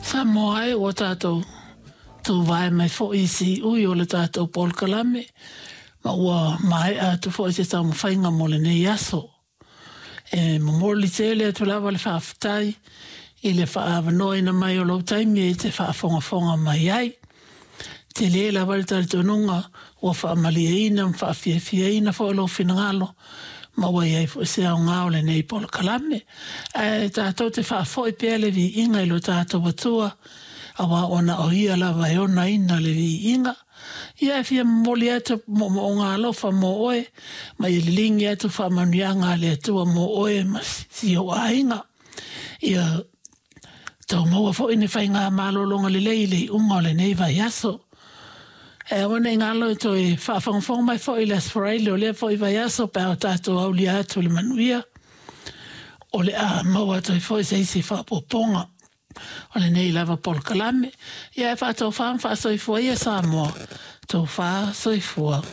Samoa e, ua tatou tuvae mai foi i siui o le tatou polokalame, ma ua maea atu foi se taumafaiga mo lenei aso. E momoli tele atu lava le faafetai i le faaavanoaina mai o lou taimi e te faafogafoga mai ai. Tele lava le talitonuga ua faamalieina ma faafiafiaina foi lou finagalo ma ua i ai foi se aoga o lenei polokalame. Ae tatou te faafoi pea le viiga i lo tatou Atua, aua ona o Ia lava e onaina le viiga. Ia e fia momoli atu moomooga alofa mo oe, ma ia liligi atu faamanuiaga a le Atua mo oe ma si ou aiga. Ia tou maua foi ni faiga malologa lelei i le iuga o lenei vaiaso. E aua ne i galo e toe faafogafoga mai foi i le Aso Faraile o lea foi vaiaso pe a o tatou aulia atu le manuia, o le a maua atu ai foi se isi faaopoopoga o lenei lava polokalame. Ia e faatofa ma faasoifua ia Samoa, tofa soifua.